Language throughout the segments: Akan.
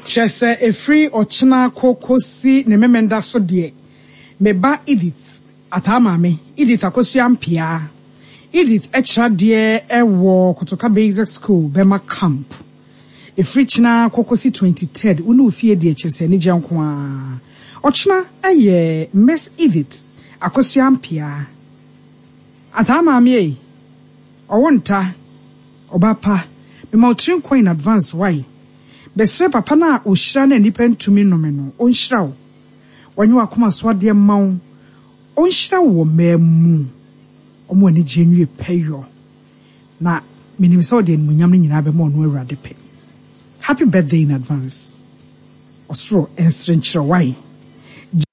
Kyerɛ sɛ ɛfiri ɔkyena kɔ kɔsi ne Memenda so deɛ, me ba Edith, Ataa maame, Edith Akosua Ampeaa, Edith kyerɛ adeɛ wɔ Kotoka Basic School, Bɛma Camp. Ɛfiri kyena kɔ kɔsi 23rd, wo ne wo fie deɛ kyerɛ sɛ anigyeɛ nko ara. Ɔkyena yɛ Miss Edith Akosua Ampeaa. Ataa maame ei, ɔwo nta, ɔba pa, mema wo tiri nkwa in advance wai? Mesrɛ papa no a ɔhyira na nnipa ntumi nnome no, ɔnhyira wo, ɔnyɛ w'akoma so adeɛ mma wo, ɔnhyira wo wɔ mmaa mu, ɔma w'anigyeɛ nwie pɛyɔ, na menim sɛ ɔde animuonyam no nyinaa bɛma ɔno Awurade pɛ. Happy birthday in advance. Ɔsoro nsere nkyerɛ wo wai.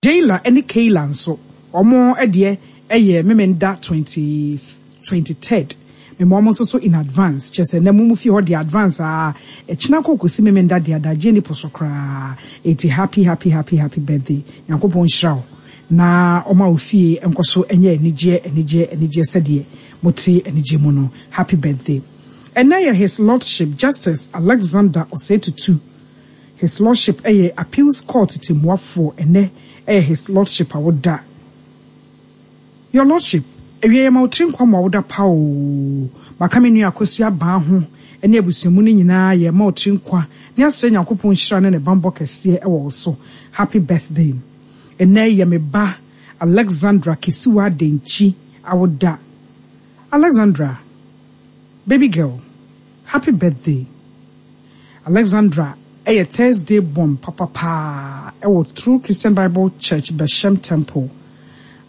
Jayla ne Kayla nso wɔn deɛ yɛ Memenda 20 23rd. Mema wɔn nso so in advance. Kyerɛ sɛ nnɛ mo mo fie hɔ deɛ advance aa. Ɛkyena kɔ kɔsi Memenda deɛ adagyeɛ nni po so koraa. Enti happy happy happy happy birthday. Nyankopɔn nhyira wo na ɔma wo fie nkɔ so nyɛ anigyeɛ anigyeɛ anigyeɛ sɛdeɛ mote anigyeɛ mu no. Happy birthday. Ɛnnɛ yɛ His Lordship Justice Alexander Osei Tutu. His Lordship yɛ Appeals Court tɛmmuafoɔ, ɛnnɛ yɛ His Lordship awoda. Your Lordship, awia yɛma wo tiri nkwa ma w'awoda pa oo. Maka me nua Akosua Abaa ho ne abusua mu no nyinaa yɛrema wo tiri nkwa ne asrɛ Nyankopɔn nhyira ne ne banbɔ kɛseɛ wɔ wo so. Happy birthday. Ɛnnɛ yɛ me ba Alexandra Kisiwa Denkyi awoda. Alexandra, baby girl, happy birthday. Alexandra yɛ Thursday born papa paa wɔ True Christian Bible Church Beshem Temple.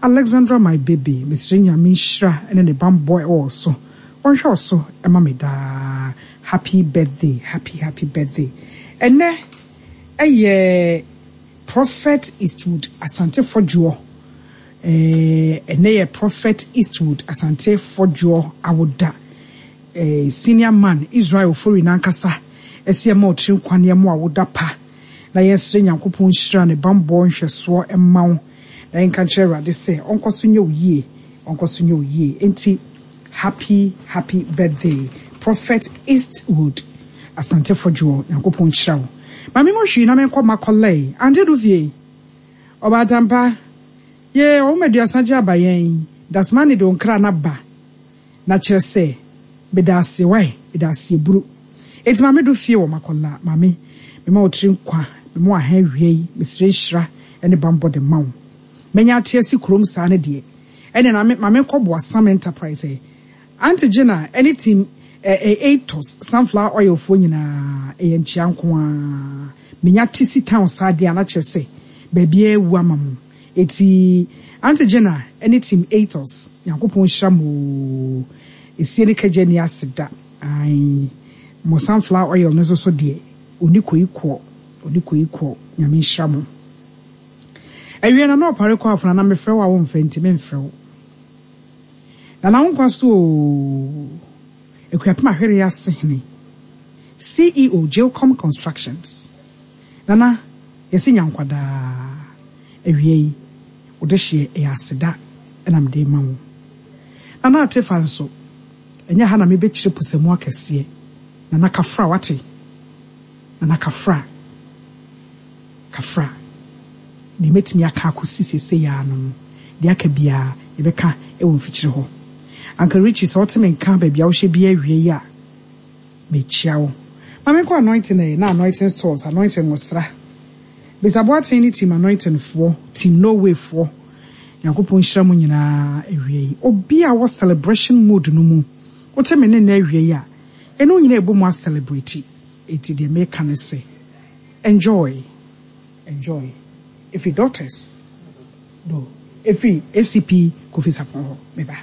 Alexandra my baby mesrɛ Nyame nhyira ne ne banbɔ wɔ wo so, ɔnhwɛ wo so ma me daa. Happy birthday happy happy birthday. Ɛnɛ yɛ Prophet Eastwood Asante Fɔdwoɔ Ɛnɛ yɛ Prophet Eastwood Asante Fɔdwoɔ awoda. Eh senior man Israel Ofori nankasa ɛse ɛma wo tiri nkwa ne ɛmo awoda pa na yɛnsrɛ Nyankopɔn nhyira ne banbɔ nhwɛsoɔ mma wo na yɛnka nkyerɛ Awurade sɛ ɔnkɔ so nyɛ wo yie ɔnkɔ so nyɛ wo yie enti happy happy birthday Prophet Eastwood Asante Fodwoɔ Nyankopɔn nhyira wo Ma me ngɔ hwii na menkɔ makɔlɛe Ante Dufie Ɔbaatampa Yee ɔwoma aduasa gye aba yɛn Dasmani de wo nkra no aba Na kyerɛ sɛ, meda ase wai, meda ase aburu. Enti maame do fie wɔ Makola, maame, mema wo tiri nkwa, mema wo aha awia yi, mesrɛ nhyira ne banbɔ de ma wo. Manya ate asi kurom saa no deɛ, ɛneɛ na me, ma menkɔ Boasam Enterprise ɛ. Aunty Gina ne team ɛ ɛ Atos Sunflower Oil foɔ nyinaa, ɛyɛ nkyea nko ara. Menya te si town saa deɛ a, na kyerɛ sɛ baabiara awu ama mo. Eti Aunty Gina ne team Atos Nyankopɔn nhyira mo oo Esie ne kagya nni ase da ae Mo sunflower oil no nso so deɛ ɔni koi koɔ ɔni koi koɔ Nyame nhyira mo Awie Nana Ɔpare kɔ afona na mefrɛ wo a womfɛ nti memfrɛ wo Nana wo nkwa so oo Akuapem Ahwereɛ ase hene CEO Jilcom Constructions Nana yɛse nya nkwa daa. Awiei, wo dehyeɛ ɛyɛ aseda na mede rema wo. Nana Atefa nso, ɛnyɛ ha na mebɛkyerɛ pusamu akɛseɛ. Nana Kafra, wate? Nana Kafra, Kafra. Deɛ mɛtumi aka akɔsi seesei ara no no, deɛ aka biara yɛbɛka wɔ mfikyire hɔ. Uncle Richie, sɛ wote me nka baabi a wohyɛ biara awiei a, Mekyia wo. Ma menkɔ anointing eh, na anointing stores, anointing nwosra. Bisa Boateng ne team anointing foɔ, team no way foɔ. Nyankopɔn nhyira mo nyinaa awia yi. Obi a wɔ celebration mood no mu, wote me ne nnɛ awia yi a, yɛne wo nyinaa ɛbɔ mu a celebrate. Enti deɛ meka ne se, enjoy, enjoy. Ɛfiri Daughters. Do ɛfiri ACP Kofi Sarpong hɔ meba.